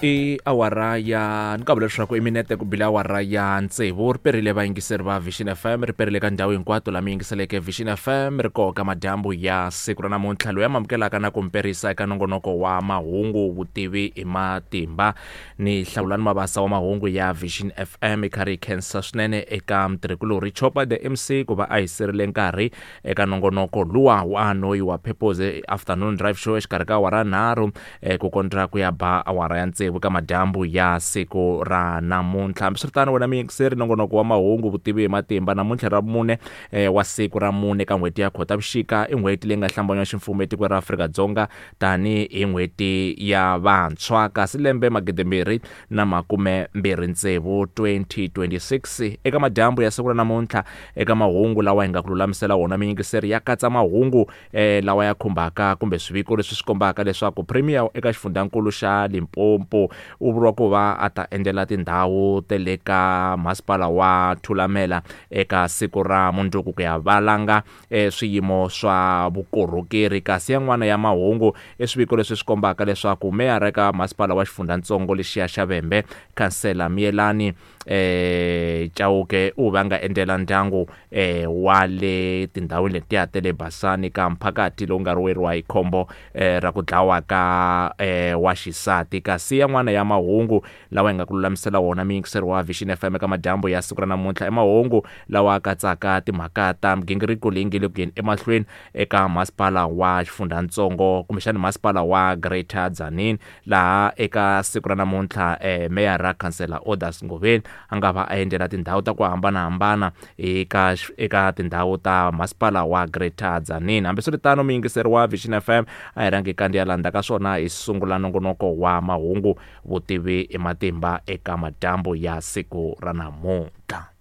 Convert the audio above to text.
I awara ya ni kavula leswaku i minete ku bile awara ya tsevu ri perile vayingiseri va Vision FM ri perile ka ndhawu hinkwato laha mi yingiseleke Vision FM ri koka madyambu ya siku ra namuntlha loyi a mamukelaka na ku mperisa eka nongonoko wa mahungu vutivi hi matimba ni hlawulani mabasa wa mahungu ya Vision FM i karhi hi khensa swinene eka mutirhikulorhi Chopa the MC ku va a hi sirile nkarhi eka nongonoko luwa wa noyi wa Purpose Afternoon Drive Show exikarhi ka awara nharhu ku kondza ku ya ba awara ya tsevu ka madyambu ya siku ra namuntlha. Hambiswiritano, wena muyingiseri, nongonoko wa mahungu vutivi hi matimba namuntlha ra vumune wa siku ra mune ka n'hweti ya Khotavuxika i n'hweti leyi nga hlambanywa ximfumo etikweni ra Afrika-Dzonga tanihi n'hweti ya vantshwa kasi lembe magidimbirhi na makume mbirhi tsevu 2026 eka madyambu ya siku ra namuntlha eka mahungu lawa hi nga ku lulamisela wona miyingiseri ya katsa mahungu lawa ya khumbaka kumbe swiviko leswi swi kombaka leswaku premier eka xifundzankulu xa Limpopo u vuriwa ku va a ta endzela tindhawu ta le ka masipala wa Thulamela eka siku ra mundzuku ku ya valanga swiyimo swa vukorhokeri kasi yan'wana ya mahungu i swiviko leswi swi kombaka leswaku meyara eka masipala wa xifundzatsongo lexiya xa Vhembe khansela Miyelani Chauke u va nga endzela ndyangu wa le tindhawini letiya ta le Basani ka mphakati lowu nga weriwa hi khombo ra ku dlawa ka wa xisati kasi yan'wana ya mahungu lawa hi nga ku lulamisela wona muyingiseri wa Vision FM eka madyambu ya siku ra namuntlha i mahungu lawa katsaka timhaka ta migingiriko leyi nge le ku yeni emahlweni eka masipala wa xifundzatsongo kumbexana masipala wa Greater Tzaneen laha eka siku ra namuntlha meyara khansela Orders Ngoveni a nga va a endzela tindhawu ta ku hambanahambana eka eka tindhawu ta masipala wa Greater Tzaneen hambiswiritano muyingiseri wa Vision FM a hi rhangi kandziya landza ka swona hi sungula nongonoko wa mahungu vutivi i matimba eka madyambu ya siku ra namuntlha.